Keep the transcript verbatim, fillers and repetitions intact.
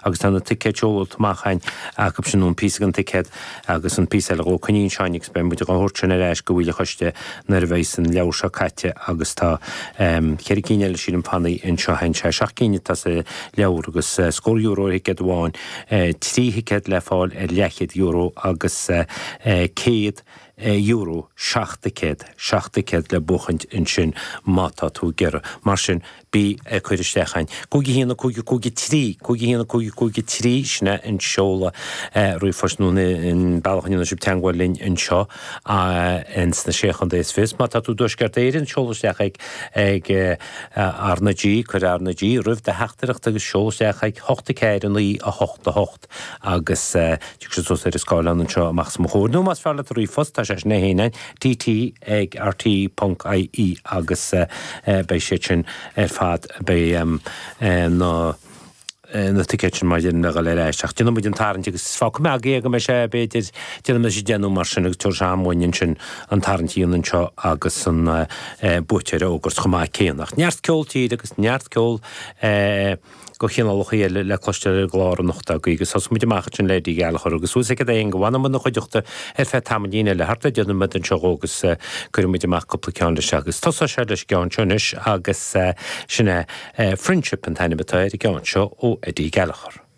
agus tá na ticéid seolta amach againn acu sin nó an píosa den ticéad agus an píosa eile dhó coinníonn Seáin agus beidh muid á thabhairt sin ar ais go bhfuil a choiste nuair a bheidh an leabhar seo caite agus tá ceithre cinn eile sílim fanaí anseo againn sé seacht gcinn atá sa leabhar agus scór euro ar thicéad amháin trí thicéad le fáil ar leathchéad euro agus céad euro seacht dticéad, seacht dticéad le buachaint ansin má tá tú ag iarraidh. Mar sin, bí ag cur isteach againn. Cúig a haon, a cúig, a cúig, a trí, cúig a haon, a cúig, a cúig, a trí, sin é an seoladh ríomhphoist nó an bealach a ndéanann sibh teagmháil linn anseo ins na Sé Chontae is Fiche. Má tá tú i dTuaisceart Éireann, seol isteach ag ag R na G, cuir R na G roimh do theachtaireacht agus seol isteach ag hocht a ceathair a naoi a hocht a hocht agus tiocfaidh sé suas ar an scáileán anseo amach os mo chomhair. Nó más fearr leat ríomhphost, tá sé sin é féin TT ag RTÉ ponc IE agus beidh siad sin ar fad, beidh na na ticéid sin mar a deirim le dhul ar ais. Ach déanfaidh muid an tarraingt agus fágfaidh mé agaibh é go mbeidh sé, b'fhéidir, déanfaidh muid deich nó mar sin agus tabharfaidh sé am dhúinn ansin an tarraingt a dhéanamh anseo agus an buaiteoir a fhógairt chomh maith céanna. Ach neart ceol tíre agus neart ceol de chineálacha eile le cloisteáil ar an gclár anocht agaibh agus thosaigh muid amach ansin le Eddie Gallagher agus suas ag a haon go bhfanfaidh muid ina chuideachta ar feadh tamaillín eile thart ar deich nóiméad anseo dhó agus cuirfidh muid amach cúpla ceann leis agus tosóidh sé leis an gceann seo anois agus sin é Friendship an t-ainm atá ar an gceann seo ó Eddie Gallagher.